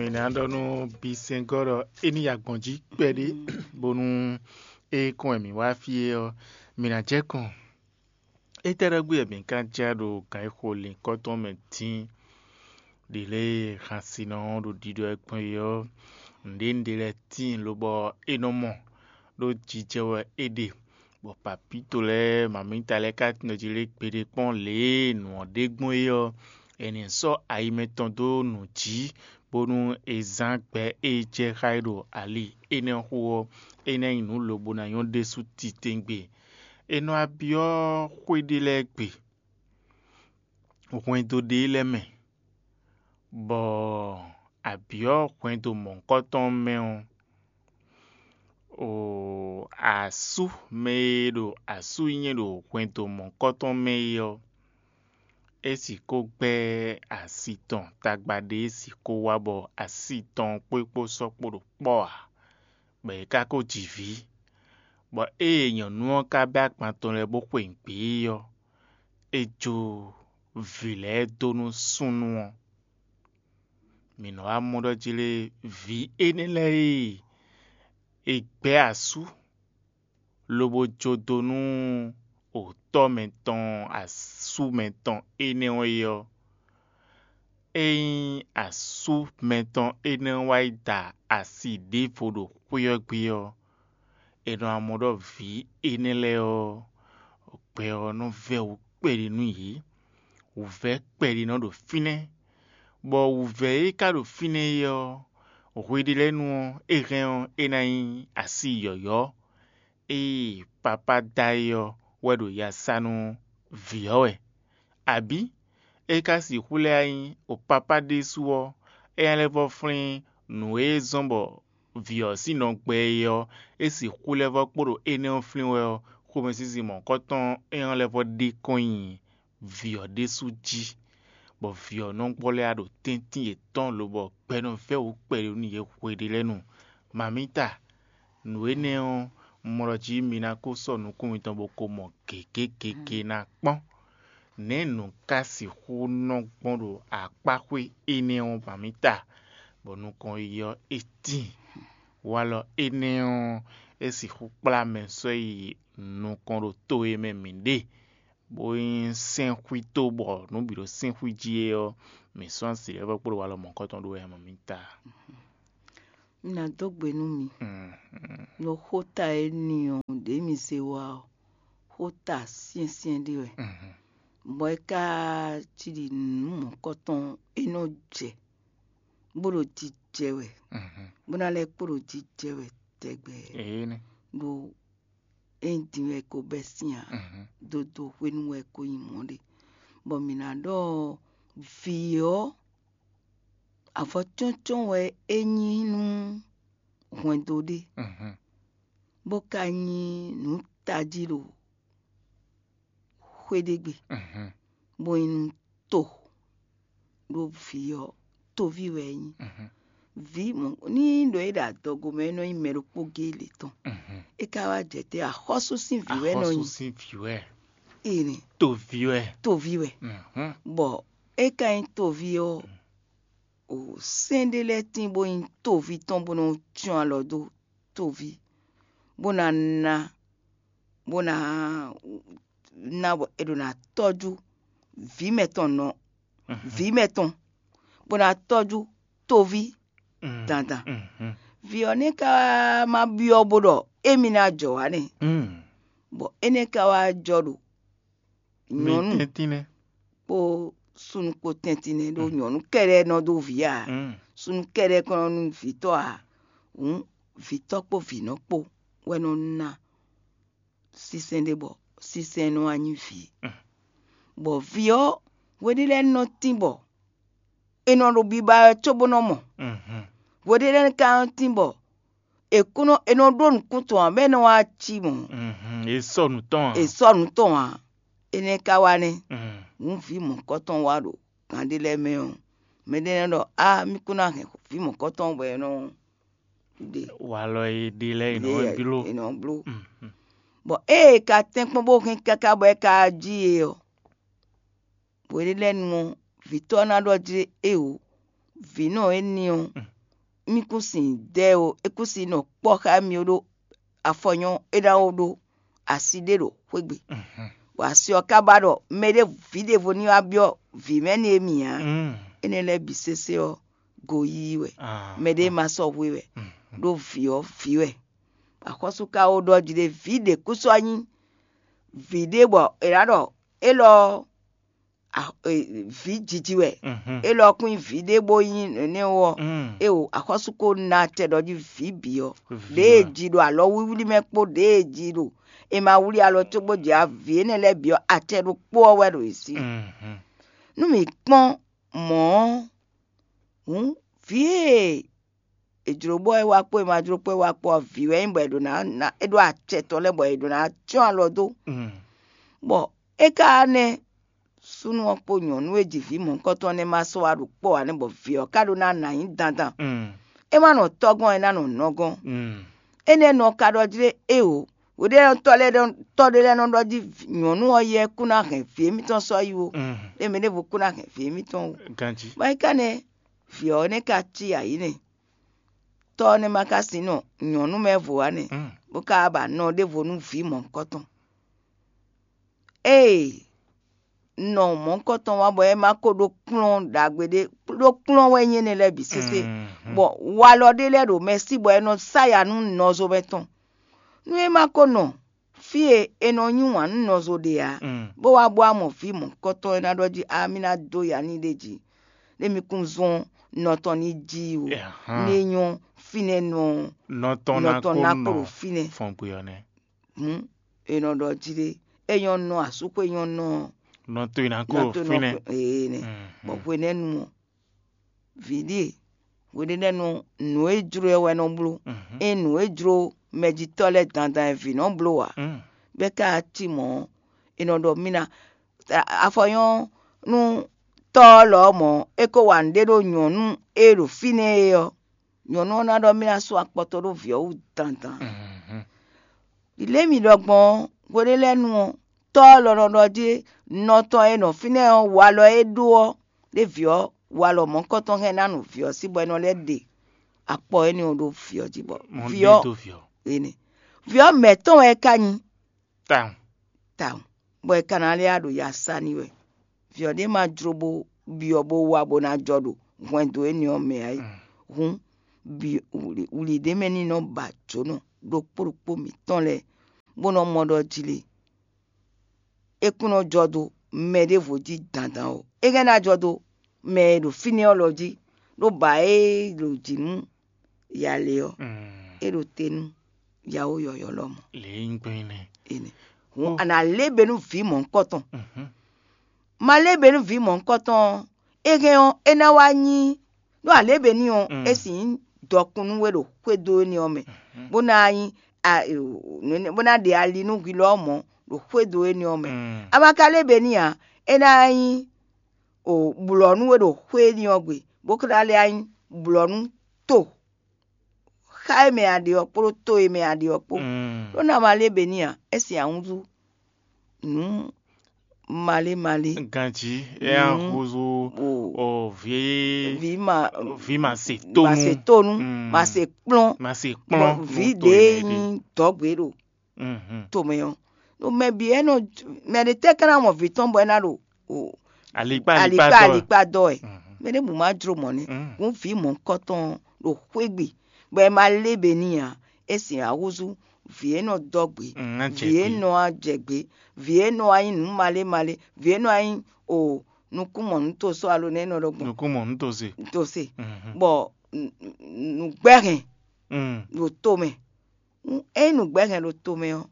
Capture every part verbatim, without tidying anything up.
Mǐ ná ɖɔ nú bisɛngɔ́ ɖɔ é ní yi agbɔ̌n jí kpɛɖé, bónú é kɔn wɛ mǐ wá fí é ɔ́, mǐ ná jɛ kɔn. Étɛ́ ɖɔgbí wɛ mǐ ka jɛ ɖo gǎn e xo lǐnkɔ́ tɔn mɛ dín? Ɖě lɛ́ɛ e hansinɔ ɔ́ ɖo ɖiɖɔ ɛ gbɔn é ɔ́, nǔɖé nǔɖé lɛ́ɛ tíin lobɔ é nɔ mɔ, ɖó jijɛ wɛ é ɖe, bɔ papíto lɛ́ɛ mamǐta lɛ́ɛ ka tɔ́n jí lé gbeɖé kpɔ́n lě e nǔ ɔ́ ɖe gbɔn é ɔ́, è nǐ sɔ́ ayi mɛtɔn dó nǔ jí, bónú è zán gbɛ e jɛ xá é ɖo ali énɛ́ xo ɔ́, é ná nyí nǔ lobo ná nyɔ́ ɖésú titewungbe. È nɔ wá byɔ́ xwé ɖé lɛ́ɛ gbe, hwɛndo ɖé lɛ́ɛ mɛ, bɔ a byɔ́ hwɛndo mɔ̌hunkɔtɔn mɛ ɔ́, o asú mɛ e ɖo asú nyɛ ɖo hwɛndo mɔ̌hunkɔtɔn mɛ é ɔ́, é sixú gbɛ́ asi tɔn tagba ɖé sixú wá bɔ asi tɔn kpó é kpó sɔ́ kpó ɖo kpɔ́ ǎ, bɔ é ka ko ji vǐ. Bɔ ée nyɔ̌nu ɔ́ ka bɛ́ agban tɔn lɛ́ɛ bó xwe nǔgbé é ɔ́, é jó vǐ lɛ́ɛ dó nú súnnu ɔ́. Mǐ nɔ wá mɔ ɖɔ jí lé vǐ énɛ́ lɛ́ɛ e è gbɛ́ asú lobo jó dó nú otɔ́ mɛtɔn asú mɛtɔn énɛ́ ɔ́ é ɔ́, ényí asú mɛtɔn énɛ́ ɔ́ wá yi da asi ɖěvo ɖo xwé ɔ́ gbe ɔ́, è nɔ wá mɔ ɖɔ vǐ énɛ́ lɛ́ɛ ɔ́, gbɛ ɔ́ nɔ vɛ́ wǔ kpɛɖé nú yě. Wǔvɛ́ kpɛɖé nɔ ɖo fínɛ́, bɔ wǔvɛ́ e ka ɖo fínɛ́ é ɔ́, hweɖélɛ́nu ɔ́, é hɛn ɔ́, é ná nyí asi yɔ̌yɔ́. Ée papá da é ɔ́ wɛ ɖo ya sa nú vǐ ɔ́ wɛ. Abǐ é ka sixú lɛ́ wá nyí o papá ɖésú ɔ́, é ná lɛ́ vɔ́ flín nǔ e zɔ́n bɔ vǐ ɔ́ sín nɔ gbɛ é ɔ́, é sixú lɛ́ vɔ́ kpo ɖo énɛ́ ɔ́ flín wɛ ɔ́, xomɛsinsin mɔ̌hunkɔtɔn é ɔ́ lɛ́ vɔ́ ɖe kɔn nyi vǐ ɔ́ ɖésú jí, bɔ vǐ ɔ́ nɔ gbɔ́ lɛ́ wá ɖo tɛ́ntin yětɔn lobɔ gbɛ nɔ vɛ́ wǔ kpɛɖé nú yě hweɖélɛ́nu. Mamǐta, nǔ énɛ́ ɔ́, un mɔ ɖɔ jí mi ná ko sɔ́ nukún mitɔn bó ko mɔ gěgé gěgé ná kpɔ́n. Nɛ̌ nǔ ka sixú nɔ gbɔn ɖo akpáxwé énɛ́ ɔ́ mamǐta, bɔ nukɔn yiyi ɔ́ é tíin? Walɔ énɛ́ ɔ́, é sixú kplá mɛ sɔ́ yi nukɔn ɖo to e mɛ mǐ ɖe, bó nyí sɛ́nxwíto bɔ nǔ bǐ ɖo sɛ́nxwí jí é ɔ́, mǐ sɔ́ asi lɛ́ɛ vɔ kpódó walɔ mɔ̌hunkɔtɔn ɖó wɛ mamǐta. Un ná dó gbe nú mi ɖo xóta e n'i ɔ́ ɖě mi zé wá ɔ́, xóta syɛ́nsyɛ́n ɖé wɛ, bɔ é ka cí ɖi nǔ mɔ̌hunkɔtɔn e nɔ jɛ bó ɖo jijɛ wɛ, bó ná lɛ́ kpo ɖo jijɛ wɛ tɛgbɛ. Ɖó é din wɛ ko bɛ́ sín ǎ, dodo hwenu wɛ ko nyí mɔ̌ ɖe. Bɔ mǐ ná ɖɔ vǐ ɔ́, avɔ cɔ́ncɔ́n wɛ é nyí nú hwɛndo ɖé, bó ka nyí nǔ tají ɖo xwé ɖé gbe, bó nyí nú to, ɖó vǐ ɔ́, toví wɛ é nyí. Vǐ mɔ ní ɖo é ɖo adɔgo mɛ é nɔ nyí mɛ ɖokpó géé lě tɔn. É ka wá jɛ te axɔ́sú sín vǐ wɛ é nɔ nyí. Axɔ́sú sín vǐ wɛ. Ene. Toví wɛ. Toví wɛ. Bɔ é ka nyí toví ɔ́, o sɛ́n ɖé lɛ́ɛ tín bó nyí toví tɔn bó nɔ cyɔ́n alɔ dó toví, bó ná ná, bó ná ná bɔ è ɖo ná tɔ́jú vǐ mɛtɔn nɔ vǐ mɛtɔn, bó ná tɔ́jú toví dandan. Vǐ ɔ́ nɛ́ ka ma byɔ́ bó ɖɔ émí ná jɔ wǎ nɛ́, bɔ énɛ́ ka wá jɔ ɖo nyɔ̌nu kpó súnnu kpó tɛ́ntin nɛ́, ɖó nyɔ̌nu kɛ́ɖɛ́ nɔ dó vǐ ǎ, súnnu kɛ́ɖɛ́ kɔn nɔ nú vǐtɔ́ ǎ. Hǔn vǐtɔ́ kpó vǐnɔ kpó wɛ nɔ ná sínsɛ́n ɖé bɔ sínsɛ́n nɔ wá nyí vǐ. Bɔ vǐ ɔ́, hweɖé lɛ́ɛ nɔ tín bɔ è nɔ ɖo biba wɛ cóbó nɔ mɔ. Hweɖé lɛ́ɛ ka nɔ tín bɔ è kún nɔ è nɔ ɖó nǔkún tɔn ǎ, bɔ é nɔ wá cí mɔ̌. È sɔ́ nǔ tɔn ǎ. È sɔ́ nǔ tɔn ǎ. Énɛ́ ka wá nɛ́. Hǔn vǐ mɔ̌kɔtɔn wá ɖo kan ɖé lɛ́ɛ mɛ ɔ́, mɛɖé nɔ ɖɔ á mí kún ná hɛn vǐ mɔ̌kɔtɔn bɔ è nɔ ɖe. Walɔ e ɖe lɛ́ɛ è nɔ bló. È nɔ bló. Bɔ ée è ka tɛ́nkpɔ́n bó hɛn káká bɔ é ka jí e ɔ́, hweɖélɛ́nu ɔ́, vǐtɔ́ ɔ́ ná ɖɔ jí éeǒ, vǐnɔ éní ɔ́, mì kún sin dɛ ó, é kún sin nɔ kpɔ́ xá mì ó ɖó afɔ nyɔ́ é ná ó ɖó asi ɖé ɖo xwé gbe. Bɔ asi ɔ́ ka ba ɖɔ mɛɖé vǐ ɖěvo ní wá byɔ́ vǐ mɛ nú émí ǎ. Énɛ́ lɛ́ɛ bǐ sésé ɔ́, goyíyí wɛ. Mɛɖé ma sɔ́ hwe wɛ, ɖó vǐ ɔ́ vǐ wɛ. Axɔ́sú ka ó ɖɔ jí ɖé vǐ ɖě kú sɔ́ nyí vǐ ɖé bɔ è nǎ ɖɔ élɔ́ ɔ́, vǐ jiji wɛ. Élɔ́ kún nyí vǐ ɖé bó nyí nɛnɛ́ ó ɔ́, éwo axɔ́sú ko ná acɛ ɖɔ jí vǐ bǐ ɔ́, ɖěe ji ɖo alɔwlíwlí mɛ kpó ɖěe ji ɖo è ma wlí alɔ cóbó jɛ avǐ énɛ́ lɛ́ɛ bǐ ɔ́, acɛ ɖokpó ɔ́ wɛ ɖo yě sí. Nú mǐ kpɔ́n mɔ̌ ɔ́, hǔn vǐ e è jlǒ bɔ é wá kpó è ma jló kpó é wá kpó ɔ́, vǐ wɛ nyí bɔ è ɖo ná ná é ɖó acɛ tɔn lɛ́ɛ bɔ è ɖo ná cyɔ́n alɔ dó. Bɔ é ka nɛ́ súnnu ɔ́ kpó nyɔ̌nu e ji vǐ mɔ̌hunkɔtɔn ɔ́ nɛ́ ma sɔ́ wá ɖo kpɔ́ ǎ nɛ́ bɔ vǐ ɔ́ ka ɖó ná nǎ nyí dandan. É ma nɔ tɔ́ gɔ́n ɔ́, é ná nɔ nɔ gɔ́n. Énɛ́ nɔ ka ɖɔ jí ɖé éeǒ. Hweɖénɔtɔ́ lɛ́ɛ nɔ tɔ́ ɖé lɛ́ɛ nɔ ɖɔ jí nyɔ̌nu ɔ́ yɛ kún ná hɛn vǐ émítɔn sɔ́ yi ó. Ɖé mɛ ɖěvo kún ná hɛn vǐ émítɔn ó. Ganjí. Bɔ é ka nɛ́ vǐ ɔ́ nɛ́ ka cí ayǐ nɛ́. Tɔ́ ɔ́ nɛ́ ma ka sin nɔ nyɔ̌nu mɛ vo ǎ nɛ́, bó ka ba nɔ ɖěvo nú vǐ mɔ̌hunkɔtɔn. Ée nɔ mɔ̌hunkɔtɔn wá bɔ é ma ko ɖó kplɔ́n ɖagbe ɖé ɖó kplɔ́n wɛ nyí énɛ́ lɛ́ɛ bǐ sésé, bɔ walɔ ɖé lɛ́ɛ ɖo mɛ sí bɔ é nɔ sá ya nú nɔzo mɛ tɔn. Nú é ma ko nɔ fí e è nɔ yí wǎn nú nɔzo ɖe ǎ, bó wá bó wá mɔ vǐ mɔ̌hunkɔtɔn e ná ɖɔ jí amí ná dó ya n'i ɖe jí, ɖé mi kún zɔ́n nɔ tɔn ní jí ó, ní é nyɔ́ fínɛ́ nɔ nɔ tɔn ná kó ɖo fínɛ́. Hǔn è nɔ ɖɔ jí ɖé, é nyɔ́ nɔ asúxwé nyɔ́ nɔ nɔ to e ná kó ɖo fínɛ́. Ee nɛ, bɔ hwenɛ́nu ɔ́, vǐ ɖíe hwenɛ́nu nǔ e jló ɛ wɛ nɔ bló. É nǔ e jló mɛjitɔ́ lɛ́ɛ dandan e vǐ nɔ bló ǎ. Bɛ́ ka cí mɔ̌ ɔ́, è nɔ ɖɔ mì ná afɔ nyɔ́ nú tɔ́ ɔ́ lɔ ɔ́ mɔ̌, é ko wa nǔɖé ɖó nyɔ̌nu e ɖo fínɛ́ é ɔ́, nyɔ̌nu ɔ́ ná ɖɔ mì ná sú akpɔtɔ ɖó vǐ ɔ́ wú dandan. Lě mi ɖɔ gbɔn ɔ́, hweɖé lɛ́ɛ nu ɔ́, tɔ́ ɔ́ lɔ nɔ ɖɔ jí nɔ tɔn e nɔ fínɛ́ ɔ́, walɔ e é ɖó ɔ́, ɖé vǐ ɔ́, walɔ mɔ̌hunkɔtɔn hɛn ná nu vǐ ɔ́ sí bɔ é nɔ lɛ́ ɖe akpɔ énɛ́ ɔ́ ɖó vǐ ɔ́ jí bɔ vǐ ɔ́ énɛ́ vǐ ɔ́ mɛ̌ tɔn wɛ é ka nyí. Tawun. Tawun, bɔ è ka ná lɛ́ ɖo ya sa n'i wɛ. Vǐ ɔ́ ɖé ma jló bó byɔ́ bó wá bó ná jɔ ɖo hwɛndo énɛ́ ɔ́ mɛ ǎ é. Hǔn, wlǐ ɖé mɛ ní nɔ ba jǒnɔ ɖokpó ɖokpó mǐtɔn lɛ́ɛ, bó nɔ mɔ ɖɔ jí lé, é kún nɔ jɔ dó mɛ ɖěvo jí dandan ó. É hɛn ná jɔ dó mɛ e ɖo fínɛ́ ɔ́ lɔ jí, ɖó ba e ɖo jǐ nú ya lě ɔ́, é ɖo te nú yawó yɔ̌yɔ́ lɔmɔ̌. Lě e nyí gbɛn nɛ́. Énɛ́. Hǔn a nǎ lé be nú vǐ mɔ̌hunkɔtɔn. Ma lé be nú vǐ mɔ̌hunkɔtɔn ɔ́, é hɛn ɔ́, é ná wá nyí ɖó a lě be n'i ɔ́, é sixú nyí dɔkun nú we ɖo xwédo énɛ́ ɔ́ mɛ, bó ná nyí bó ná ɖe ali nú hwi lɔ ɔ́ mɔ̌ ɖo xwédo énɛ́ ɔ́ mɛ. A ma ka lé be n'i ǎ, é ná nyí blɔ̌ nú we ɖo xwé énɛ́ ɔ́ gbe, bó ka ná lɛ́ nyí blɔ̌ nú to xá e mɛ a ɖe ɔ́ kpódó to e mɛ a ɖe ɔ́ kpó. Ɖó ná ma lé be n'i ǎ, é sin ahúnzú nǔ malé malé. Ganjí é ná húzú o vǐ vǐ ma vǐ ma se tónú ma se tónú, ma se kplɔ́n, ma se kplɔ́n vǐ ɖě nyí dɔ̌gbě ɖo tomɛ ɔ́. Ɖo mɛ bǐ é nɔ mɛ ɖě tɛ́ ka ná mɔ vǐ tɔn bɔ é ná ɖo alikpá alikpá alikpá dɔ wɛ. Mɛ ɖěbǔ ma jló mɔ̌ nɛ́. Hǔn vǐ mɔ̌hunkɔtɔn ɖo xwé gbe, bɔ è ma lé be n'i ǎ. É sin ahúzú vǐ e nɔ dɔ́ gbě, vǐ e nɔ wá jɛ gbě, vǐ e nɔ wá nyí nǔ malé malé, vǐ e nɔ wá nyí o nukúnmɔnútosó alo nɛ́ nɔ ɖɔ gbɔn nukúnmɔnútose. Tose, bɔ nǔgbɛ́hɛn ɖo tomɛ. Ényí nǔgbɛ́hɛn ɖo tomɛ ɔ́,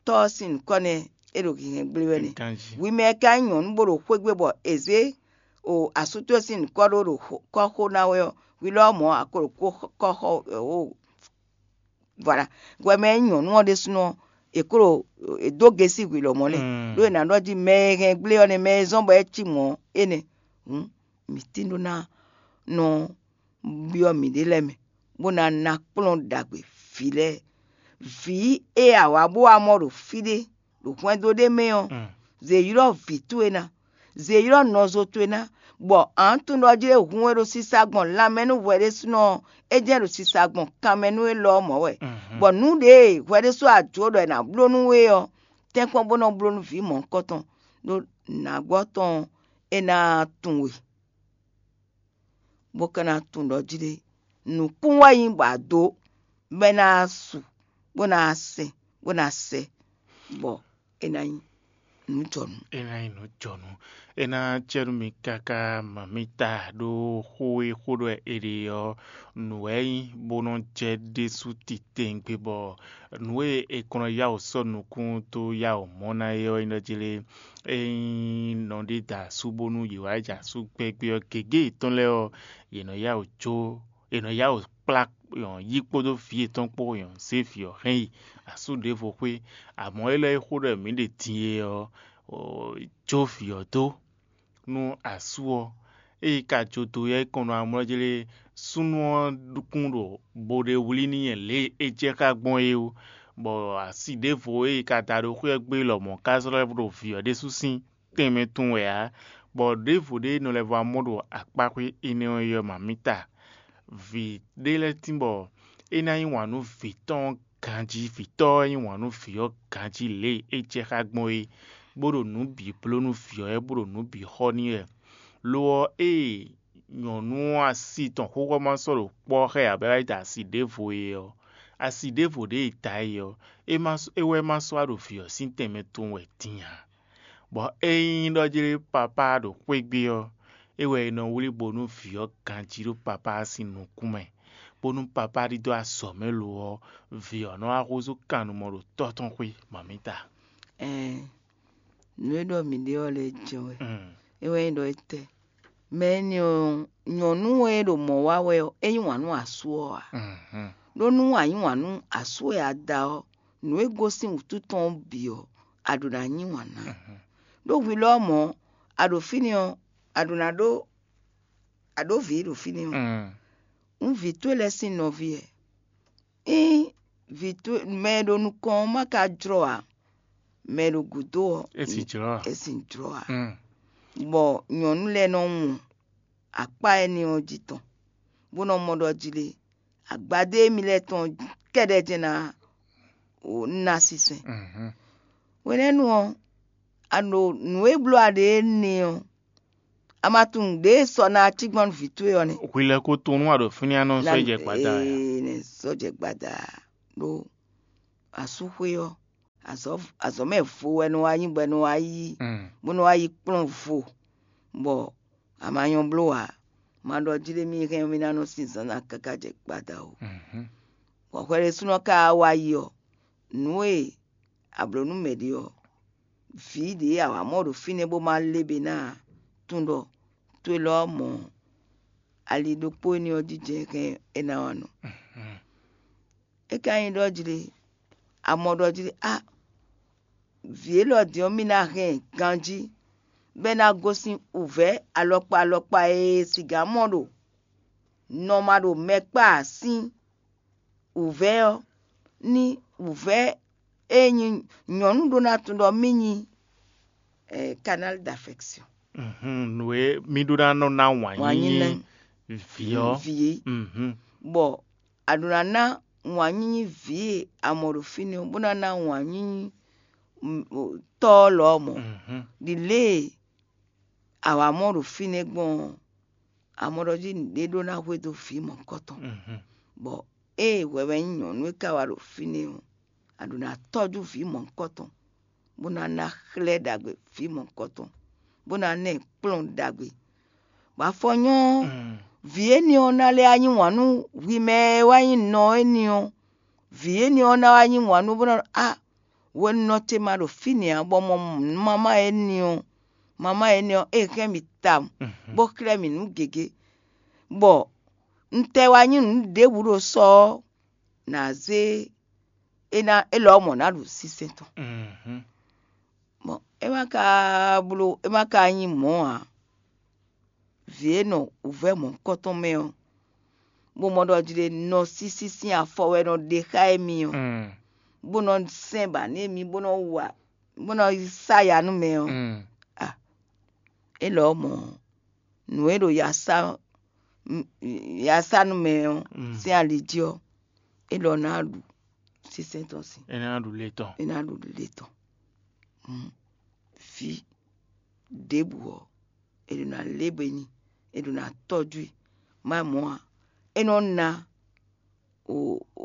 tɔ́ ɔ́ sín nyǐkɔ nɛ́ é ɖo hinhɛn gblé wɛ nɛ́. Hwi mɛ e ka nyí nyɔ̌nu bó ɖo xwé gbe bɔ è zě o asú towe sín nyǐkɔ ɖó ɖo kɔ́xo ná wɛ ɔ́, hwi lɔ mɔ̌ a ko ɖo kɔ́xɔ o. Voilà. Hwɛ mɛ e nyí nyɔ̌nu ɔ́ ɖésúnɔ ɔ́, è ko ɖo è dó gesi hwi lɔmɔ̌ nɛ́. Ɖó è nǎ ɖɔ jí mɛ e hɛn gblé ɔ́ nɛ́, mɛ e zɔ́n bɔ é cí mɔ̌ ɔ́, énɛ́. Hǔn mǐ tín ɖó ná nɔ byɔ́ mǐɖée lɛ́ɛ mɛ, bó ná ná kplɔ́n ɖagbe vǐ lɛ́ɛ. Vǐ e a wǎ bó wá mɔ ɖo fí ɖé, ɖo hwɛndo ɖé mɛ ɔ́, zě ylɔ́ vǐ towe ná, zě ylɔ́ nɔzo towe ná, Bɔ ǎ tunɖɔjí e hun e ɖo sisa gbɔn lanmɛ nú hwɛ ɖésúnɔ ɔ́, é jɛ́n ɖo sisa gbɔn kanmɛ nú élɔ́ ɔ́ mɔ̌ wɛ. Bɔ nǔ ɖě e hwɛ ɖésú a jǒ ɖɔ è nǎ bló nú we ɔ́, tɛ́nkpɔ́n bó nɔ bló nú vǐ mɔ̌hunkɔtɔn, ɖó nǎgbɔ́ tɔn ɔ́, é ná tunwun we, bó ka ná tunwun ɖɔ jí ɖé, nǔkún wɛ nyí bɔ a dǒ, bɔ é ná su, bó ná sɛn, bó ná sɛ, bɔ é ná nyí nǔjɔnǔ. É ná nyí nǔ jɔnǔ. É ná cɛ́ nú mi káká mamǐta ɖó xó e xó ɖɔ è ɖe ɔ́, nǔ wɛ é nyí bó nɔ́ jɛ ɖésú titewungbe bɔ nǔ e è kɔn nɔ yá wǔ sɔ́ nukún dó yá wǔ mɔ ná é ɔ́ nyí ɖɔ jí lé. Ényí nɔ ɖé da asú bónú yě wá jɛ asú gbɛ́gbɛ́ ɔ́, gěgé yětɔn lɛ́ɛ ɔ́, yě nɔ yá wǔ jó, yě nɔ yá wǔ kplá yí kpódó vǐ yětɔn kpó zé vǐ ɔ́ hɛn yi asú ɖěvo xwé. Amɔ̌ élɔ́ e xó ɖɔ mǐ ɖe din e ɔ́, jó vǐ ɔ́ dó nú asú ɔ́. Ée ka jó dó yá é kɔn nɔ amlɔ́ jlé súnnu ɔ́ kún ɖo bo ɖe wlí n'i lě e é jɛ xá gbɔn é ó, bɔ asi ɖěvo e ka da ɖo xwé ɔ́ gbe lɔmɔ̌ ka zlɔ́ ɛ ɖo vǐ ɔ́ ɖésú sín tɛnmɛ tɔn wɛ ǎ, bɔ ɖěvo ɖé nɔ lɛ́ vɔ amɔ́ ɖo akpáxwé énɛ́ ɔ́ yi ɔ́, mamǐta. Vǐ ɖé lɛ́ɛ tín bɔ é ná yí wǎn nú vǐ tɔn ganjí, vǐ tɔ́ ɔ́ yí wǎn nú vǐ ɔ́ ganjí lě e é jɛ xá gbɔn é, bó ɖo nǔ bǐ bló nú vǐ ɔ́ wɛ, bó ɖo nǔ bǐ xɔ n'i wɛ. Lo ɔ́, ée nyɔ̌nu ɔ́ asi tɔn xóxó ma sɔ́ ɖo kpɔ́ xá ɛ ǎ bɔ é wá yi da asi ɖěvo é ɔ́, asi ɖěvo ɖě e da é ɔ́, é ma é wɛ ma sɔ́ wá ɖo vǐ ɔ́ sín tɛnmɛ tɔn wɛ din ǎ. Bɔ ényí ɖɔ jlé papá ɖo xwé gbe ɔ́, é wɛ è nɔ wlí bónú vǐ ɔ́ ganjí ɖó papá ɔ́ sín nukún mɛ, bónú papá ɖidó azɔ̌ mɛ lo ɔ́, vǐ ɔ́ nɔ wá húzú kannumɔ ɖo tɔ́ tɔn xwé mamǐta. Ɛɛn, nǔ e ɖɔ mǐ ɖe ɔ́ lɛ́ɛ jɛ́n wɛ. Mm. É wɛ nyí ɖɔ étɛ́? Mɛ énɛ́ ɔ́, nyɔ̌nu e ɖo mɔ̌ wa wɛ ɔ́, é yí wǎn nú asú ɔ́ ǎ. Mhm. Ɖó nú a yí wǎn nú asú e a da ɔ́, nǔ e gosín wǔtu tɔn ɔ́ bǐ ɔ́, a ɖǒ ná yí wǎn ná. Mhm. Ɖó hwi lɔ ɔ́ mɔ̌, a ɖo fínɛ́ ɔ́, a ɖǒ ná ɖó a ɖǒ vǐ ɖo fínɛ́ ɔ́, Mm. un vǐ towe lɛ́ɛ sín nɔví wɛ. Ényí vǐ towe mɛ e ɖo nukɔn ɔ́ ma ka jlɔ́ ǎ, mɛ e ɖo gǔdo ɔ́, É sì jlɔ́ ǎ. É sì jlɔ́ ǎ. Mm. Bɔ nyɔ̌nu lɛ́ɛ nɔ wɔn akpá énɛ́ ɔ́ jí tɔn, bó nɔ mɔ ɖɔ jí lé, agbadé émí lɛ́ɛ tɔn kɛ́ɖɛ́ jɛ́n ná ná sínsɛ́n. Mhm. Hwenɛ́nu ɔ́, a ɖo nǔ e bló a ɖe énɛ́ ɔ́, a ma tunwun ɖě e sɔ ná cí gbɔn nú vǐ towe ɔ́ nɛ́. Hwi lɛ́ ko tunwun nú a ɖo fínɛ́ a nɔ sɔ́ yi jɛ gbada wɛ a? Ee, nɛ sɔ́ jɛ gbada ɖó asúxwé ɔ́, azɔ̌ azɔ̌ mɛ vo wɛ nɔ wá nyí bɔ è nɔ wá yí Mm. bó nɔ wá yi kplɔ́n vo, bɔ a ma nyɔ́ bló ǎ. Ma ɖɔ jí ɖé mì hɛn mì ná nɔ sin zǎnzǎn káká jɛ gbada o. Mhm. Bɔ hwɛ ɖésúnɔ ka wá yi ɔ́, nǔ e a blǒ nú mɛ ɖě ɔ́, vǐ ɖě a wǎ mɔ ɖo fínɛ́ bó ma lé be ná ǎ, tunɖɔ towe lɔ ɔ́ mɔ ali ɖokpó énɛ́ ɔ́ jijɛ hɛn é ná wá nɔ. É ka nyí ɖɔ jí ɖé, a mɔ ɖɔ jí ɖé, a vǐ élɔ́ din ɔ́, mì ná hɛn ɛ ganjí, bɔ é ná gosín wǔvɛ́ alɔkpa alɔkpa e siga mɔ ɖo nɔ ma ɖo mɛ kpá ǎ sín wǔvɛ́ ɔ́, ní wǔvɛ́ e nyí nyɔ̌nu ɖó ná tunwun ɖɔ mì nyí eh, canal d'affection. Mhm, nǔ e mì ɖó ná nɔ ná wǎn Wǎn nyí nyínyí nɛ́. Vǐ ɔ́. Vǐ é. Mhm. Bɔ a ɖǒ ná ná wǎn nyínyí vǐ e a mɔ ɖo fínɛ́ ɔ́, bó ná ná wǎn nyínyí mm, o, tɔ́ ɔ́ lɔ ɔ́ mɔ. Mhm. Ɖi lě e a wǎ mɔ ɖo fínɛ́ gbɔn ɔ́, a mɔ ɖɔ jí nǔɖé ɖó ná hwedó vǐ mɔ̌hunkɔtɔn. Mhm. Bɔ ée hwɛ wɛ nyí nyɔ̌nu e ka wá ɖo fínɛ́ ɔ́, a ɖǒ ná tɔ́jú vǐ mɔ̌hunkɔtɔn, bó ná ná xlɛ́ ɖagbe vǐ mɔ̌hunkɔtɔn, bó ná ná ɛ kplɔ́n ɖagbe. Bɔ afɔ nyɔ́ Mm. vǐ énɛ́ ɔ́ ná lɛ́ wá yí wǎn nú hwi mɛ e wá nyí nɔ énɛ́ ɔ́, vǐ énɛ́ ɔ́ ná wá yí wǎn nú bó ná ɖɔ, á hwenu nɔ ce ma ɖo fínɛ́ ǎ, bɔ mɔ mamá énɛ́ ɔ́, mamá énɛ́ ɔ́, é hɛn mì tawun, Mhm. bó xlɛ́ mì nǔ gěgé, bɔ un tɛ wá nyí nǔ ɖěbǔ ɖo sɔ ɔ́, nǎ zé é ná é lɔ mɔ̌ ná ɖu sínsɛ́n tɔn. Mhm. Bɔn é ma ka bló é ma ka nyí mɔ̌ ǎ. Vǐ e nɔ wǔvɛ́ mɔ̌hunkɔtɔn mɛ ɔ́, bó mɔ ɖɔ jí ɖé nɔ sísí sín afɔ wɛ nɔ ɖe xá émí ɔ́, Mm. bó nɔ sɛn ba nú émí, bó nɔ wa bó nɔ sa ya nú mɛ ɔ́, Mm. a é lɔ mɔ̌ nǔ e ɖo yasá yasá nú mɛ ɔ́ sín ali jí ɔ́, é ɖɔ ná ɖu sínsɛ́n tɔn sín. É ná ɖu lě tɔn. É ná ɖu lě tɔn. Vǐ ɖěbǔ ɔ́, è ɖo ná lé bɔ é nyi, è ɖo ná tɔ́jú i. Má mɔ̌ ǎ, é nɔ ná o, o,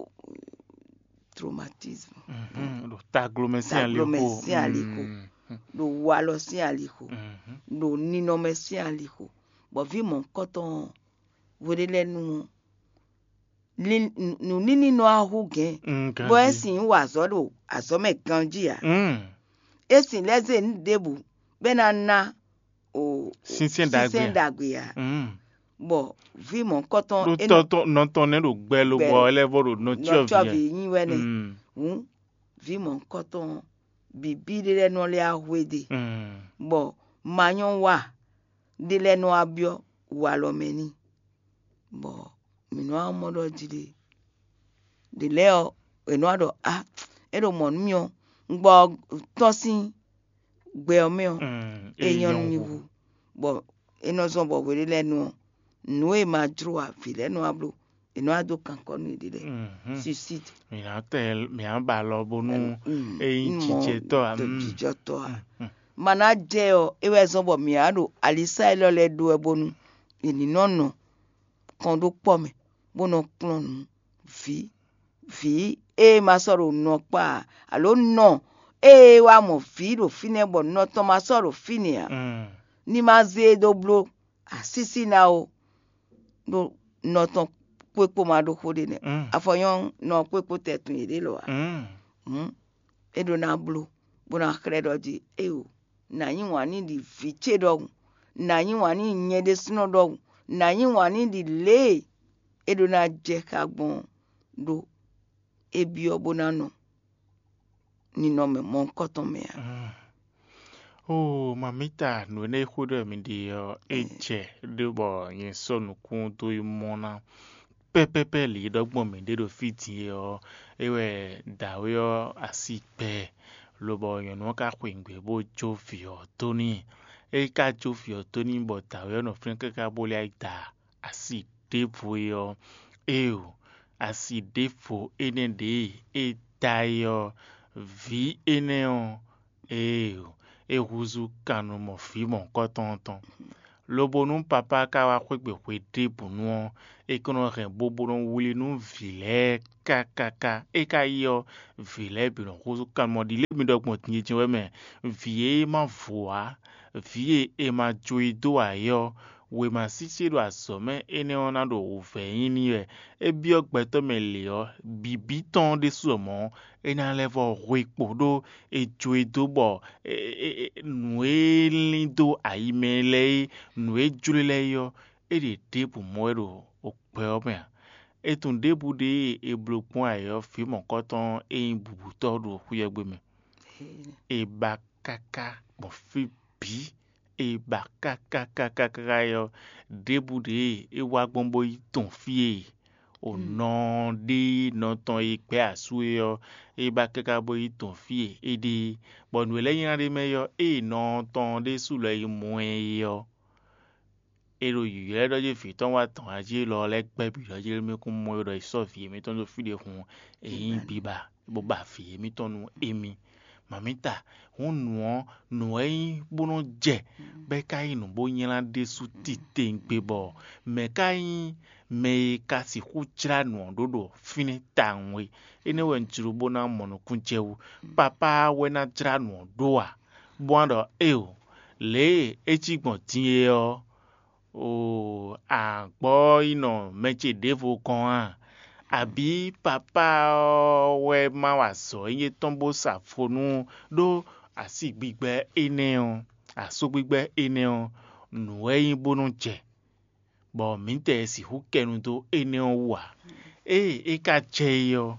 traumatisme, ɖo taglomɛ sín alixo, taglomɛ sín alixo, ɖo walɔ sín alixo, ɖo ninɔmɛ sín alixo, bɔ vǐ mɔ̌hunkɔtɔn ɔ́, hweɖé lɛ́ɛ nu ɔ́, nǔ ní ní nɔ wá hú gɛ̌n, bɔ é sixú wa azɔ̌ ɖo azɔ̌ mɛ ganjí ǎ. É sin lɛ́ zé nǔ ɖěbǔ bɔ é ná ná o Sínsɛ́n ɖagbe sínsɛ́n ǎ. Ɖagbe ǎ. Bɔ vǐ mɔ̌hunkɔtɔn Ɖó é nɔ tɔ́ tɔn nɔ tɔn nɛ́ ɖo gbɛ lobɔ Gbɛ. Ɛ lɛ́ vɔ ɖo nɔ nɔ cyɔ cyɔ vǐ vǐ ɛ. Nyi wɛ nɛ. Hǔn vǐ mɔ̌hunkɔtɔn bǐbí ɖé lɛ́ɛ nɔ lɛ́ wá hwedó e, bɔ ma nyɔ́ wa ɖé lɛ́ɛ nɔ wá byɔ́ walɔ mɛ n'i, bɔ mǐ nɔ wá mɔ ɖɔ jí ɖe. Ɖě lɛ́ɛ ɔ́, è nɔ wá ɖɔ a, é ɖo mɔ̌ nú mì ɔ́, un gbɔ tɔ́n sín gbɛ ɔ́ mɛ ɔ́, é nyɔ́ nú mì hu, bɔ é nɔ zɔ́n bɔ hweɖé lɛ́ɛ nu ɔ́, nǔ e ma jló ǎ, vǐ lɛ́ɛ nɔ wá bló, è nɔ wá dó kankɔ́ nú yěɖée lɛ́ɛ. Suicide. Mǐ ná tɛ mǐ ná ba alɔ bónú é nyí jijɛtɔ́ ǎ. Jijɔtɔ́ ǎ. Ma ná jɛ ɔ́, é wɛ zɔ́n bɔ mǐ wá ɖo alisá élɔ́ lɛ́ɛ ɖó wɛ bónú è ní nɔ nɔ kɔn ɖó kpɔ́ mɛ, bó nɔ kplɔ́n nǔ vǐ vǐ e ma sɔ́ ɖo nɔ kpá ǎ, alo nɔ e wá mɔ vǐ ɖo fínɛ́ bɔ nɔ tɔn ma sɔ́ ɖo fínɛ́ ǎ, ní ma zé e dó bló asísí ná ó, ɖó nɔ tɔn kpó é kpó ma ɖó xó ɖé nɛ́. Afɔ nyɔ́ nɔ kpó é kpó tɛ́ tun yěɖée lɔ ǎ. Hǔn é ɖó ná bló, bó ná xlɛ́ ɖɔ jí éeǒ, nǎ yí wǎn n'i ɖi vǐ ce ɖɔhun, nǎ yí wǎn n'i nyɛ ɖésúnɔ ɖɔhun, nǎ yí wǎn n'i ɖi lě e é ɖó ná jɛ xá gbɔn ɔ́, ɖó é byɔ́ bó ná nɔ ninɔmɛ mɔ̌hunkɔtɔn mɛ ǎ. Ó, mamǐta, nǔ énɛ́ e xó ɖɔ mi ɖe ɔ́, é jɛ ɖó bɔ nyɛ sɔ́ nukún dó yi mɔ ná. Pɛ́pɛ́pɛ́ lǐ ɖɔ gbɔn mǐ ɖe ɖo fí din é ɔ́, é wɛ dǎwe ɔ́ así gbɛ, lobɔ nyɔ̌nu ɔ́ ka xwe nǔgbé bó jó vǐ ɔ́ dó n'i. É ka jó vǐ ɔ́ dó n'i bɔ dǎwe ɔ́ nɔ flɛ́n káká bó lɛ́ yi da asi ɖěvo é ɔ́, éeǒ, asi ɖěvo énɛ́ ɖě e é da é ɔ́, vǐ énɛ́ ɔ́, éeǒ, é húzú kannumɔ vǐ mɔ̌hunkɔtɔn tɔn. Lobo nú papá ka wá xwé gbe hwe ɖěbǔnu ɔ́, é kɔn nɔ hɛn bo bó nɔ wlí nú vǐ lɛ́ɛ kákáká. É ka yi ɔ́, vǐ lɛ́ɛ bǐ nɔ húzú kannumɔ ɖi lě mi ɖɔ gbɔn din e jɛ́n wɛ mɛ. Vǐ e ma vo ǎ, vǐ e è ma jó yi dó ǎ é ɔ́, wěma sísí e ɖo azɔ̌ mɛ énɛ́ ɔ́ ná ɖo wǔvɛ́ nyi n'i wɛ. É byɔ́ gbɛtɔ́ mɛ lě ɔ́, bǐbí tɔn ɖésú ɔ́ mɔ̌, é ná lɛ́ vɔ hwe kpo ɖó è jó e dó bɔ nǔ e lín dó ayi mɛ lɛ́ɛ é, nǔ e jló e lɛ́ɛ é ɔ́, é ɖe ɖěbǔ mɔ wɛ ɖo gbɛ ɔ́ mɛ ǎ. É tunwun ɖěbǔ ɖé e è bló gbɔn ayǐ ɔ́, vǐ mɔ̌kɔtɔn e nyí bǔbútɔ́ ɖo xwé ɔ́ gbe mɛ. È ba káká gbɔn fí bǐ, è ba káká káká káká é ɔ́, ɖěbǔ ɖě e é wá gbɔn bó yi tɔn fí e o nɔ ɖé nɔ tɔn e gbɛ́ asú é ɔ́, é ba káká bó yi tɔn fí e é ɖe é, bɔ nǔ e lɛ́ nylá ɖ'é mɛ é ɔ́, ée nɔ tɔn ɖésú lɔ yi mɔ ɛ é ɔ́, è ɖo yǐylɔ́ ɖɔ jí vǐ tɔn wá tɔn ǎ jí élɔ́ lɛ́ɛ gbɛ́ bǐ ɖɔ jí émí kún mɔ é ɖɔ è sɔ́ vǐ émítɔn ɖó fí ɖé hǔn, è nyí biba bó ba vǐ émítɔn nú émí. Mamǐta, hǔn nǔ ɔ́, nǔ wɛ é nyí bó nɔ́ jɛ, bɔ é ka nyí nǔ bó nylá ɖésú titewungbe bɔ mɛ̌ ka nyí mɛ e ka sixú jlá nǔ ɔ́ ɖó ɖo fínɛ́ tawun é? Énɛ́ wɛ un jló bó ná mɔ nukún jɛ wú. Papá wɛ ná jlá nǔ ɔ́ ɖó ǎ, bó wá ɖɔ éeǒ, lě e é cí gbɔn din é ɔ́, oo, a gbɔ yi nɔ mɛ ce ɖěvo gɔ́n a? Abǐ papá ɔ́ wɛ ma wa azɔ̌ étɔn bó sa vo nú ɖó asígbigbɛ énɛ́ ɔ́, asúgbigbɛ énɛ́ ɔ́, nǔ wɛ é nyí bó nɔ́ jɛ, bɔ mǐtɛɛ sixú kɛ nu dó énɛ́ ɔ́ wú ǎ. Ée é ka jɛ é ɔ́,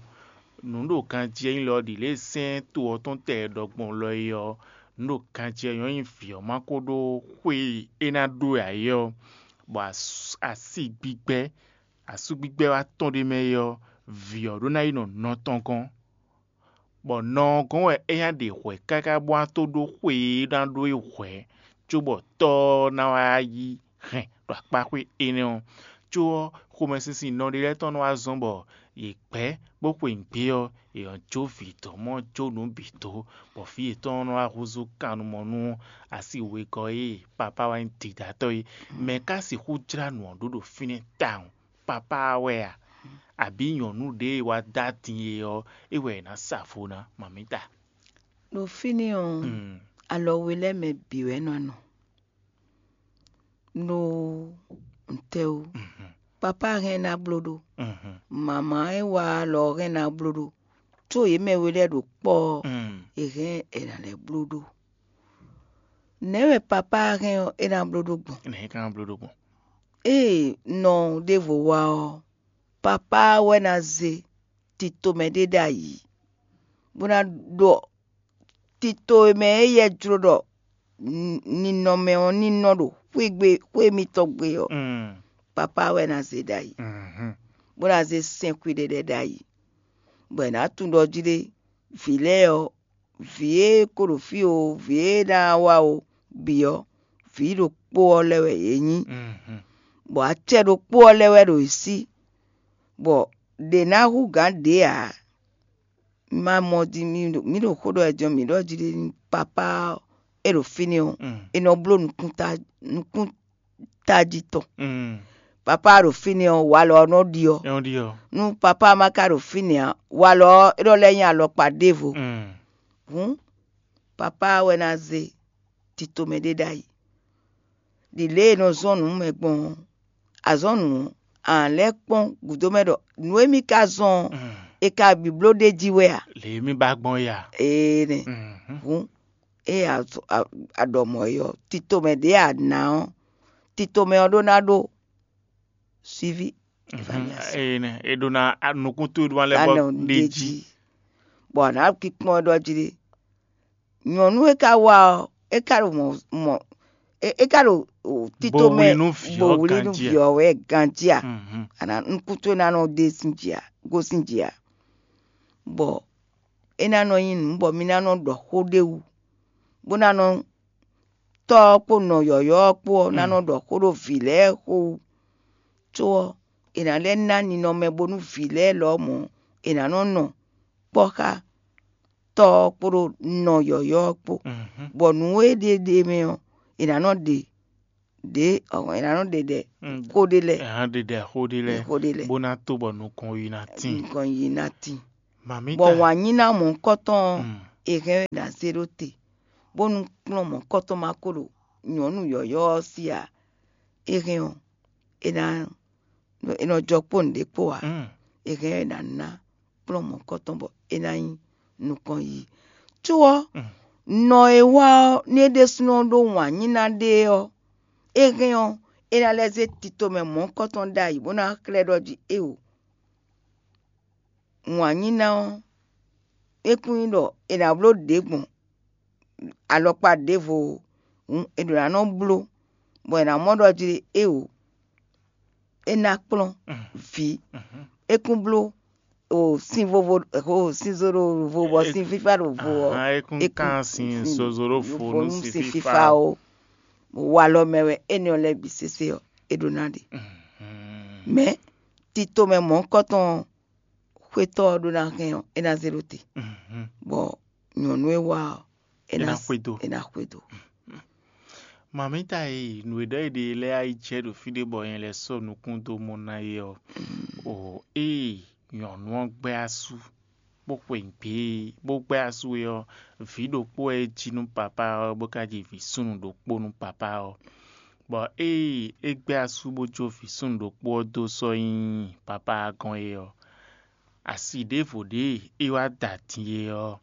nǔ ɖo ganjí ɔ́ nyí lɔ ɖi lě e sɛ́n to ɔ́ tɔn tɛ ɖɔ gbɔn lɔ é ɔ́, nǔ ɖo ganjí ɔ́ nyɔ́ nyi vǐ ɔ́ ma ko ɖó xwe e é ná ɖó ǎ é ɔ́, bɔ asígbigbɛ, asúgbigbɛ wá tɔ́n ɖ'é mɛ é ɔ́, vǐ ɔ́ ɖó ná yi nɔ nɔ tɔn gɔ́n, bɔ nɔ ɔ́ gɔ́n wɛ é ná ɖe hwɛ̌ káká bó ná tó ɖó xwe e é ná ɖó é hwɛ̌, cóbɔ tɔ́ ɔ́ ná wá yí hɛn ɖo akpáxwé énɛ́ ɔ́. Có ɔ́, xomɛsinsin nɔ ɖé lɛ́ɛ tɔn nɔ wá zɔ́n bɔ yě gbɛ́ bó xwe nǔgbé ɔ́, yě nɔ jó vǐ dɔ̌n mɔ jó nǔ bǐ dó, bɔ vǐ yětɔn nɔ wá húzú kannumɔ nú asi wegɔ́ e papá wá nyí dǐdátɔ́ é. Mɛ̌ ka sixú jlá nǔ ɔ́ ɖó ɖo fínɛ́ tawun? Papá ɔ́ wɛ a? Abǐ nyɔ̌nu ɖě e wá dó adin e ɔ́, é wɛ è nǎ sa vo ná, mamǐta? Ɖo fínɛ́ ɔ́, alɔ we lɛ́ɛ mɛ bǐ wɛ nɔ nɔ. Ɖó ntɛ́ wú? Papá hɛn ná bló ɖó, mamǎ e wá alɔ hɛn ná bló ɖó, có yě mɛ we lɛ́ɛ ɖo kpɔ́ ɔ́, è hɛn è nǎ lɛ́ bló ɖó. Nɛ̌ wɛ papá hɛn ɔ́ é ná bló ɖó gbɔn? Nɛ̌ é ka ná bló ɖó gbɔn? Ée nɔ ɖěvo wá ɔ́, papá wɛ ná zé tito mɛ ɖé ɖ'ayǐ, bó ná ɖɔ tito e mɛ éyɛ́ jló ɖɔ ninɔmɛ ɔ́ ní nɔ ɖo xwé gbe xwé mitɔn gbe ɔ́, papá wɛ ná zé ɖ'ayǐ, bó ná zé sɛn xwíɖéɖɛ́ ɖ'ayǐ, bɔ è nǎ tunwun ɖɔ jí ɖé vǐ lɛ́ɛ ɔ́, vǐ e ko ɖo fí o, vǐ e ná wá o bǐ ɔ́, vǐ ɖokpó ɔ́ lɛ́ɛ wɛ yě nyí, bɔ acɛ ɖokpó ɔ́ lɛ́ɛ wɛ ɖo yě sí, bɔ ɖě ná hú gǎn ɖě ǎ. Ma mɔ din mǐ ɖo xó ɖɔ wɛ din ɔ́, mǐ ɖɔ jí ɖé nú papá ɔ́, é ɖo fínɛ́ ɔ́, è nɔ bló nukúnta nukún tají tɔn. Papá ɖo fínɛ́ ɔ́, walɔ ɔ́ nɔ ɖiɔ. Nú papá ma ka ɖo fínɛ́ ǎ, walɔ ɔ́ é nɔ lɛ́ nyí alɔkpa ɖěvo. Hǔn papá wɛ ná zé tito mɛ ɖé ɖ'ayǐ. Ɖi lě e è nɔ zɔ́n nǔ mɛ gbɔn ɔ́, azɔ̌ nǔ ɔ́, a nǎ lɛ́ kpɔ́n gǔdo mɛ ɖɔ nǔ e mì ka zɔ́n ɔ́, è ka bǐ bló ɖ'é jí wɛ a? Lě e mì ba gbɔn é a? Ee nɛ. Hǔn ée a ɖɔ mɔ̌ é ɔ́, tito mɛ ɖě a nǎ ɔ́, tito mɛ ɔ́ ɖó ná ɖó suivi. Énɛ́ è ɖó ná nukún towe ɖó ná lɛ́ bɔ ɖ'é jí. Bɔ a nǎ kpikpɔ́n ɛ ɖɔ jí ɖé. Nyɔ̌nu e ka wá ɔ́, é ka ɖo mɔ̌ mɔ̌ é ka ɖo tito mɛ bo wlí nú vǐ ɔ́ ganjí a? A nǎ nukún towe ná nɔ ɖe sín jí a, gosín jí a? Bɔ é ná nɔ nyí nǔ bɔ mi ná nɔ ɖɔ xó ɖé wú, bó ná nɔ tɔ́ ɔ́ kpó nɔ yɔ̌yɔ́ ɔ́ kpó ɔ́ ná nɔ ɖɔ xó ɖó vǐ lɛ́ɛ xo wú. Có ɔ́, è nǎ lɛ́ ná ninɔmɛ bónú vǐ lɛ́ɛ lɔmɔ̌ è nǎ nɔ nɔ kpɔ́ xá tɔ́ ɔ́ kpódó nɔ yɔ̌yɔ́ ɔ́ kpó, bɔ nǔ e ɖe ɖe mɛ ɔ́, è nǎ nɔ ɖe ɖě è nǎ nɔ ɖe ɖɛ xó ɖé lɛ́ɛ. È nǎ ɖe ɖɛ xó ɖé lɛ́ɛ, xó ɖé lɛ́ɛ bó ná tó bɔ nukɔn yi ná tíin. Nukɔn yi ná tíin. Mamǐta. Bɔ wǎn nyí ná mɔ̌hunkɔtɔn ɔ́, è hɛn ɛ ná zé ɖó te, bónú kplɔ́n mɔ̌hunkɔtɔn ma ko ɖo nyɔ̌nu yɔ̌yɔ́ ɔ́ sí ǎ. É hɛn ɔ́, é ná é nɔ jɔ kpó nǔɖé kpó ǎ. É hɛn ɔ́, é ná ná kplɔ́n mɔ̌hunkɔtɔn bɔ é ná nyí nukɔn yiyi. Có ɔ́, nɔ e wá ɔ́, nú é ɖésúnɔ ɖó wǎn nyí ná ɖe ɔ́, é hɛn ɔ́, é ná lɛ́ zé tito mɛ mɔ̌hunkɔtɔn ɖ'ayǐ bó ná xlɛ́ ɖɔ jí éeǒ. Wǎn nyí ná ɔ́, é kún nyí ɖɔ è nǎ bló ɖě gbɔn alɔkpa ɖěvo hǔn è ɖǒ ná nɔ bló, bɔ è nǎ mɔ ɖɔ jí éeǒ, é ná kplɔ́n vǐ. É kún bló o sin vovo o sin zo ɖo vo bɔ sin fífá ɖo vo ɔ́, é kún kán sin zozo ɖó vo nú sin fífá o. Walɔ mɛ wɛ énɛ́ ɔ́ lɛ́ɛ bǐ sésé ɔ́, é ɖó ná ɖe. Mɛ̌ tito mɛ mɔ̌hunkɔtɔn ɔ́, xwétɔ́ ɔ́ ɖó ná hɛn ɔ́, é ná zé ɖó te, bɔ nyɔ̌nu e wá ɔ́, é ná xwedó. É ná xwedó. Mamíta e nǔ e ɖɔ è ɖe lɛ́ɛ ayijɛ ɖo fí ɖé bɔ nyɛ lɛ́ sɔ́ nukún dó mɔ ná é ɔ́, o ée nyɔ̌nu ɔ́ gbɛ́ asú, bó xwe nǔgbé, bó gbɛ́ asú é ɔ́, vǐ ɖokpó wɛ é jí nú papá ɔ́, bó ka ji vǐ súnnu ɖokpó nú papá ɔ́. Bɔ ée é gbɛ́ asú bó jó vǐ súnnu ɖokpó ɔ́ dó sɔ́ nyi papá ɔ́ gɔ́n é ɔ́, asi ɖěvo ɖě é wá da din é ɔ́,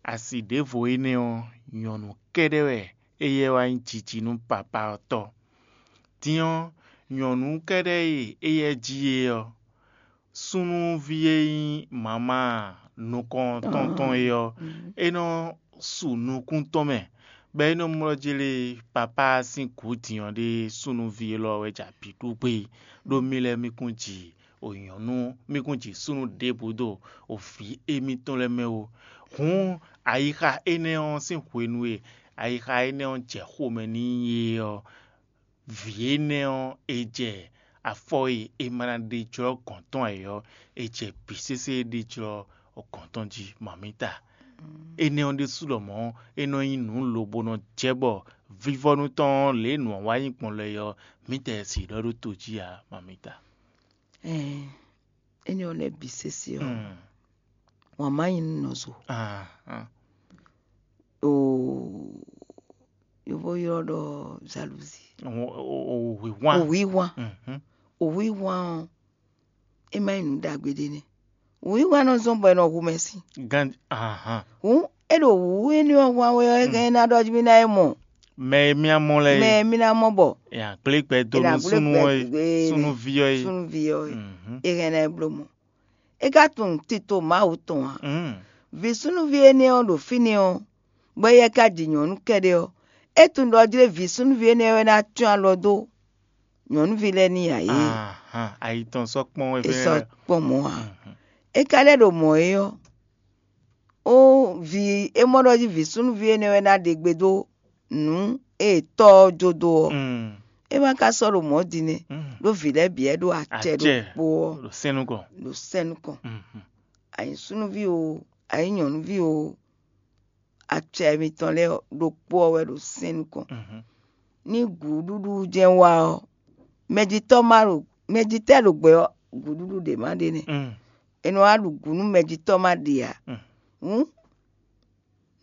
asi ɖěvo énɛ́ ɔ́, nyɔ̌nu kɛ́ɖɛ́ wɛ éyɛ́ wá nyí jiji nú papá ɔ́ tɔ́. Din ɔ́, nyɔ̌nu kɛ́ɖɛ́ e éyɛ́ jí é ɔ́, súnnuví e nyí mama nukɔntɔn tɔn é ɔ́, é nɔ su nukún tɔn mɛ, bɔ é nɔ mlɔ́ jlé papá sín gǔ din ɔ́ ɖe súnnuví élɔ́ wɛ jɛ abǐ ɖu gbé, ɖó mì lɛ́ɛ mì kún ji o nyɔ̌nu, mì kún ji súnnu ɖěbǔ ɖo o vǐ émítɔn lɛ́ɛ mɛ ó. Hǔn ayixa énɛ́ ɔ́ sín hwenu e ayixa énɛ́ ɔ́ jɛ xomɛ n'i é ɔ́, vǐ énɛ́ ɔ́, è jɛ afɔ e è ma ná ɖe jlɔ́ gɔ̌n tɔn ǎ é ɔ́, è jɛ bǐ sésé e ɖe jlɔ́ gɔ̌n tɔn jí, mamǐta. Énɛ́ ɔ́ ɖésú lɔmɔ̌, é nɔ nyí nǔ lobo nɔ jɛ bɔ vivɔnu tɔn ɔ́, lě e nǔ ɔ́ wá nyí gbɔn lɛ́ɛ ɔ́, mǐtɛɛ sixú ɖɔ ɖó to jí ǎ, mamǐta. Ɛɛ, énɛ́ ɔ́ lɛ́ɛ bǐ sésé ɔ́, wǎn má nyí nú nɔ zo. Ah, ah. Oo, yovo ylɔ́ ɖɔ jalousie. Wǐwán. Wǐwán. Mhm. Wǐwán ɔ́, é má nyí nǔ ɖagbe ɖé nɛ́. Wǐwán nɔ zɔ́n bɔ è nɔ hu mɛ sín. Gan ahan. Hǔn é ɖo wǔ énɛ́ ɔ́ hwan wɛ ɔ́, é hɛn ná ɖɔ jí mì ná é mɔ. Mɛ e mì amɔ lɛ mɛ e mì ná mɔ bɔ. Yàn gblé gbɛ dó nú súnú ɔ́ é, súnúví ɔ́ é. Súnúví ɔ́ é. Mhm. É hɛn ná é bló mɔ. É ka tunwun tito Mawu tɔn ǎ. Mm. Vǐ súnúví énɛ́ ɔ́ ɖo fínɛ́ ɔ́, bɔ éyɛ́ ka ji nyɔ̌nu kɛ́ɖɛ́ ɔ́, é tunwun ɖɔ jlé vǐ súnúví énɛ́ wɛ ná cyɔ́n alɔ dó nyɔ̌nuví lɛ́ɛ n'i ǎ é. Ahan, ayi tɔn sɔ́ kpɔ́n wɛ. É sɔ́ kpɔ́n mɔ̌ ǎ. Mhm. É ka lɛ́ ɖo mɔ̌ é ɔ́, ó vi é mɔ ɖɔ jí vǐ súnúví énɛ́ wɛ ná ɖe gbe dó nǔ e tɔ́ ɔ́ jó dó ɔ́. Mm. É ma ka sɔ́ ɖo mɔ̌ din nɛ́, Mm. ɖó vǐ lɛ́ɛ bǐ wɛ ɖo acɛ Acɛ. Ɖokpó ɔ́, Ɖo sɛn nukɔn. Ɖo sɛn nukɔn. Mhm. Ayi súnúví o, ayi nyɔ̌nuví o, acɛ mitɔn lɛ́ɛ ɔ́, ɖokpó ɔ́ wɛ ɖo sɛn nukɔn. Mhm. Ní gǔɖúɖú jɛ́n wá ɔ́, mɛjitɔ́ ma ɖo mɛjitɛ́ ɖo gbɛ ɔ́, gǔɖúɖú ɖě ma ɖe nɛ́. Mm. È nɔ wá ɖu gǔ nú mɛjitɔ́ ma ɖe ǎ. Mm. Hǔn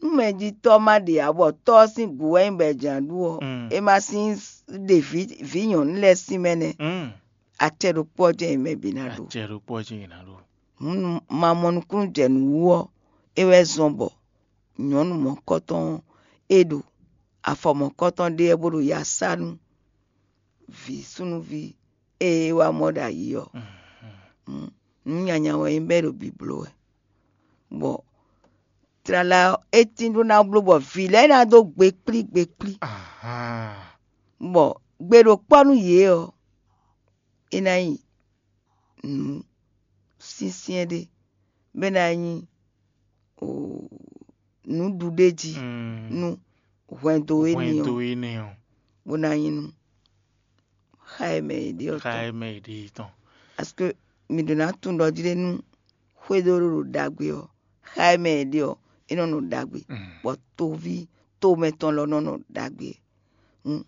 nú mɛjitɔ́ ma ɖe ǎ, bɔ tɔ́ ɔ́ sín gǔ wɛ nyí bɔ è jǎ ɖu ɔ́, Mm. é ma sín ɖe vǐ vǐ nyɔ̌nu lɛ́ɛ sín mɛ nɛ́. Mm. Acɛ ɖokpó ɔ́ jɛ́n è mɛ bǐ ná ɖo. Acɛ ɖokpó ɔ́ jɛ́n è nǎ ɖo. Hǔn nú ma mɔ nukúnnú jɛ nǔ wú ɔ́, é wɛ zɔ́n bɔ nyɔ̌nu mɔ̌kɔ́tɔn ɔ́, é ɖo afɔ mɔ̌kɔ́tɔn ɖe wɛ bó ɖo ya sá nú vǐ súnnuví e é wá mɔ ɖo ayǐ ɔ́. Mm, nǔ nyanya wɛ nyí bɔ é ɖo bǐbló wɛ. Bɔ tlala ɔ́, é tín ɖó ná bló bɔ vǐ lɛ́ɛ ná dó gbe kplí gbe kplí. Ahan. Bɔ gbe ɖo kpɔ́ nú yě ɔ́, é ná nyí nǔ syɛ́nsyɛ́n ɖé, bɔ é ná nyí nǔɖuɖéjí Mm. nú hwɛndo énɛ́ Hwɛndo ɔ́, énɛ́ ɔ́. Bó ná nyí nú xá e mɛ è ɖe ɔ́ Xá tɔn. E mɛ è ɖe tɔn. Parce que mǐ ɖo ná tunwun ɖɔ jí ɖé nú xwédo ɖo ɖo ɖagbe ɔ́, xá e mɛ è ɖe ɔ́, é nɔ nɔ ɖagbe, Mm. bɔ toví tomɛ tɔn lɔ nɔ nɔ ɖagbe. Hǔn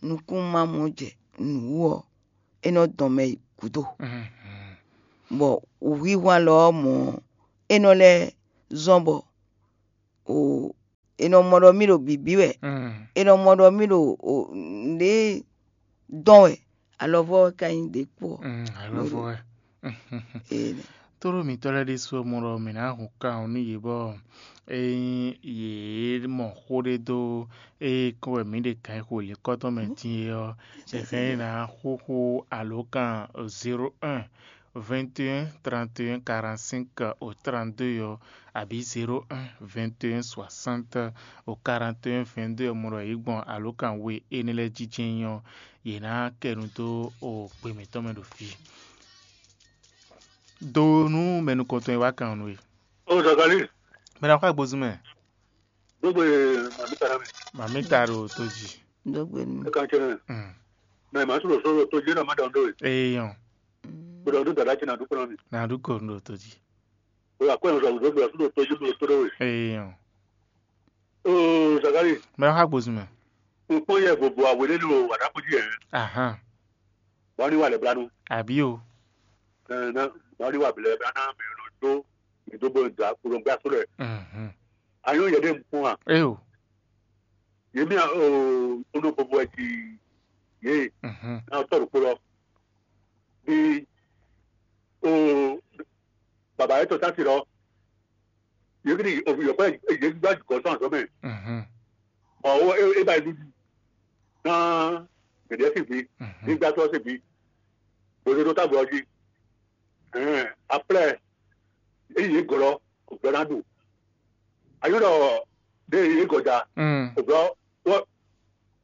nukúnmamɔ jɛ nǔ wú ɔ́, é nɔ dɔn mɛ yi gǔdo. Mm, mm. Bɔ wǔhwíhwan lɔ ɔ́ mɔ̌ ɔ́, é nɔ lɛ́ zɔ́n bɔ o è nɔ mɔ ɖɔ mì ɖo bǐbí wɛ. Mm. È nɔ mɔ ɖɔ mì ɖo o nǔɖé dɔn wɛ, alɔvɔ wɛ ka nyí ɖě kpó ɔ́. Mm, alɔvɔ wɛ. Ee, Tóɖó mǐtɔn lɛ́ɛ ɖésú ɔ́ mɔ ɖɔ mǐ ná hun kan ɔ́ nú yě bɔ ényí yě mɔ xó ɖé dó ée kɔn wɛ mǐ ɖe kan e xo lǐkɔ́tɔn mɛ din é ɔ́, è hɛn ná xóxó alǒkan zéro un, vingt et un, trente et un, quarante-cinq au trente-deux ɔ́, abǐ zéro un, vingt et un, soixante au quarante et un, vingt-deux ɔ́, mɔ ɖɔ yě gbɔn alǒkan we énɛ́ lɛ́ɛ jijɛ nyí ɔ́, yě ná kɛ nu dó o gbe mǐtɔn mɛ ɖo fí. Do nú mɛ nukɔntɔn e wá kan ɔ́ nú we. O Zakali, Mɛ ná xɔ agbozún mɛ. Dógbe màmí tara mi. Màmí ta ɖo tó jí. Dógbe nú. Ẹ kan cɛ nɛ. Mm. Mɛ màá sɔrɔ sɔrɔ tó jẹ́ náà má dàn dó e. Eyɔn. Gbọdọ̀ tó dàda cɛ nà dúpọ̀ náà mi. Nà dúkọ̀ ɖo tó jí. O yà kọ́ ẹ̀ sọ̀rọ̀ dógbe àtúntò tó jẹ́ tó tó dó e. Eyɔn. O Zakali, Mɛ ná xɔ agbozún mɛ. N kpɔ́n yɛ vovo awě ɖé ɖo wǎɖákpó jí ɛ. Ahan. Bɔ ní wà lɛ blanu. Àbí o. Ɛ ná bɔ ní wà blɛ blanu mɛ lɔ dó ìdógbò da kplɔngbá tó lɛ. Mhm. Anyɔ yɛ ɖe nkpɔn a. Eyo. Yé mi o ono vovo ɛ ti yé Mhm. na tɔ ɖo kpó lɔ. Bí o bàbá yɛ tɔ tá ti lɔ. Yé kí ni o yɔkɔ yé gbá jùkọ sɔn àzọ mɛ. Mhm. Ɔ o e e ba yi dúdú. Na gɛdɛ sì bí. Mhm. Nígbà tó sì bí. Bòdò tó tábìlì ọjí. Ɛn, après, eyi yé gɔlɔ, ògbɛ ná ɖu. Ayɔ́ ɖɔ ɖe yé gɔda, Mm. ògbɛ wɔ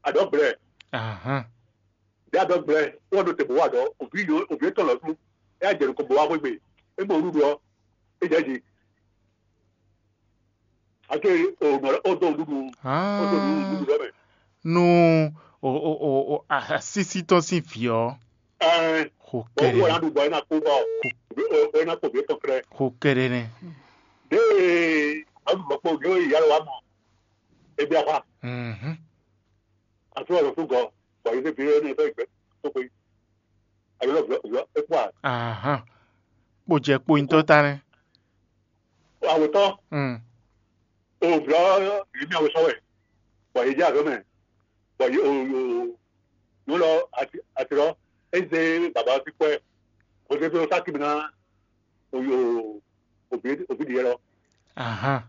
adɔ gblɛ, Ahan. ɖe adɔ gblɛ, wɔ ɖo te bò wɔ adɔ, òbí yó, òbí tɔn lɔ dú, ɛ adze nukɔ bò wá xwégbe, é mɔ nuɖuɖu ɔ, é jɛ jí. Ake o nɔ o dɔ nuɖuɖu, o dɔ nuɖuɖu lɔ mɛ. Nu O o o o asísí tɔn sín vǐ ɔ́, Ɛɛ, xo bɔ wú wɛ kɛɖɛ ná ɖu bɔ é ná kú bɔ é ná kpɔ vǐ tɔn klɛ́. Xo kɛɖɛ nɛ. Ɖé ɔ́ ɖu lɔkpɔ ɖé yá lɔ wá mɔ. Ebi afa. Mhm. Afi wà lɔ fún gɔ bɔ yé fẹ́ fi é ní ẹ fẹ́ gbẹ tó pe. Ayɔ lɔ vlɔ vlɔ é kpɔ a. Ahan. Kpo jɛ kpo nyitɔ ta nɛ. Awetɔ. Mm. O vlɔ yé mi awesɔ wɛ. Bɔ yé dze azɔ mɛ. Bɔ yé o o nyɔlɔ ati ati lɔ. Eze baba fi kpɛ. O de fi o sa kimi na. Oyo, ovi ovi ɖi yɛ lɔ. Ahan.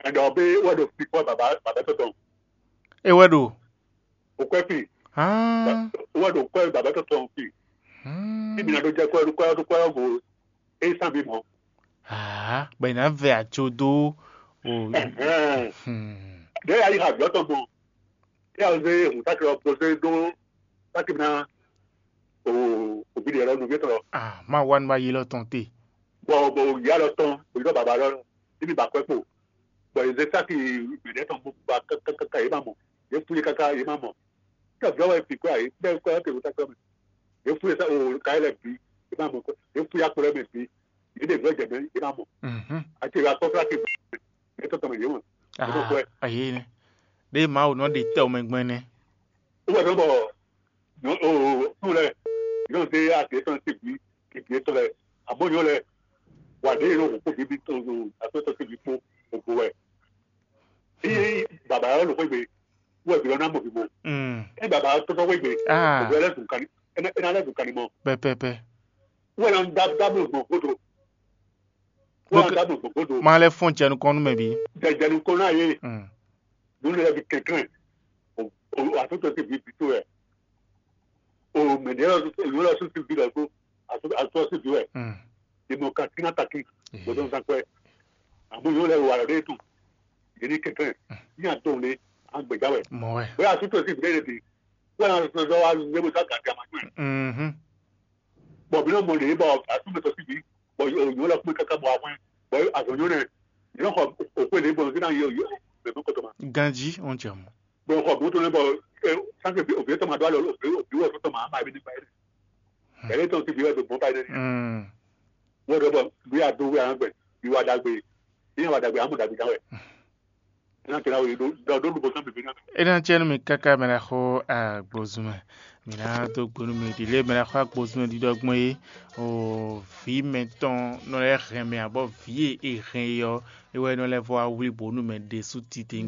Ɛdɔ be wɛ ɖo fi kɔ baba baba tɔtɔ. E wɛ ɖo. O kɔ fi. Hàn. Wɛ ɖo kɔ baba tɔtɔ fi. Hàn. Ibi na ɖo jɛ kɔ ɖo kɔ ɖo kɔ go. E san bi mɔ. Aa, bɛ na vɛ atso dó. O. Ɛhɛn. Hmm. Ɖe ya yi ha gbɔ tɔn gbɔn. Ɛ ɔ zé hun sákì lɔ prosé dó sákì ná o òbí ɖe lɔ nɔví tɔn lɔ. Ah, má wá ní wá yé lɔ tɔn te. Bɔ bɔ o yá lɔ tɔn o yɔ bàbá lɔ níbi bàkọ́ kpo. Bɔ yě zé sákì gbědɛ tɔn bó ba kákákáká yě má mɔ. Yě fú yé káká yě má mɔ. Kí ọ̀dọ́ wá fi kọ́ àyè bẹ́ẹ̀ kọ́ ẹ̀ tẹ̀wé sákì mẹ́. Yě fú yé sá o káyé lẹ̀ bí yě má mɔ. Yě fú yá kpɔ́ lẹ́ mɛ bí yě ɖe vlɔ́ jɛ mɛ yě má mɔ. Mhm. Àti ìwà kọ́ fúlákì yě tɔ̀tọ̀ mɛ yě mɔ. Yě tó kọ́ ẹ̀. Ah, ayé ni. Ɖé Mawu nɔ ɖe tɛ o mɛ gbɔn nɛ. Wɛ nɔ bɔ nɔ o o lɛ yɔ de ati etɔn ti bi ti bi etɔn lɛ abo yɔ lɛ wa de yɔ o ko bibi to o ato etɔn ti bi kpo o bo wɛ. Iye baba yɔ lɔ xwegbe wɛ bi lɔ na mɔ bi bo. Mm. E baba yɔ tɔtɔ xwegbe Ah, o bɛ lɛ dun kani e na e na lɛ dun kani mɔ. Pɛpɛpɛ. Wɛ na da da mo gbɔn kodo. Wɛ na da mo gbɔn kodo. Ma lɛ fɔn jɛnu kɔnu mɛ bi. Jɛjɛnu kɔnu aye. Mm. Nunu yɛ bi kɛnklɛn o o asotɔ ti bi bi to yɛ o mɛ de yɔ yɔ lɔ so ti bi lɔ so asotɔ ti bi wɛ. Mm. Imo ka tina taki gbɔdɔ nzan kɔɛ. Amu yɔ lɛ wa lɔ de tun yɛ ni kɛnklɛn ni a dɔn le an gbɛdza wɛ. Mɔ wɛ. Bóyá asotɔ ti bi de de wɛ na sɔ wa ne bo sa gàdí a ma gbɛ. Mhm. Bɔn mi nɔ mɔ lě bɔ asúmɛtɔ síbi bɔ yǒ lɔ kpé káká bɔ ahwɛn bɔ azɔ̌nyɔ́ nɛ yǒ xɔ òkú èlé bɔ zé ná yǒ yǒ bɛ̀mí kɔtɔ ma. Ganji, wọ́n jẹ mọ́. Bɔ xɔ bó tó lɛ bɔ sáké òbí tɔmɔ adó alɔ òbí wɔ tó tɔmɔ àmà ẹbí nípa ẹni ẹni tɔn ti bí wɛ tó gbọ́n báyìí nẹ́ni. Mm. Wọ́n dọ̀ bọ̀ bí adó wẹ́ àwọn gbẹ bí wà dàgbé bí wà dàgbé àmú dàgbé dáwẹ̀. Ena tena wo ɖo ɖo ɖo bɔ sɔn bebe na. Ena tiɛ nu mi kaka mɛ na xɔ agbozumɛ. Mi na do gbonu mi ɖi lé mɛ na xɔ agbozumɛ ɖiɖɔ gbɔn yi. O vi mɛtɔn nɔ lɛ hɛn mɛ abɔ vi e e hɛn yi ɔ, e wɛ nɔ lɛ vɔ awli bonu mɛ ɖe su tite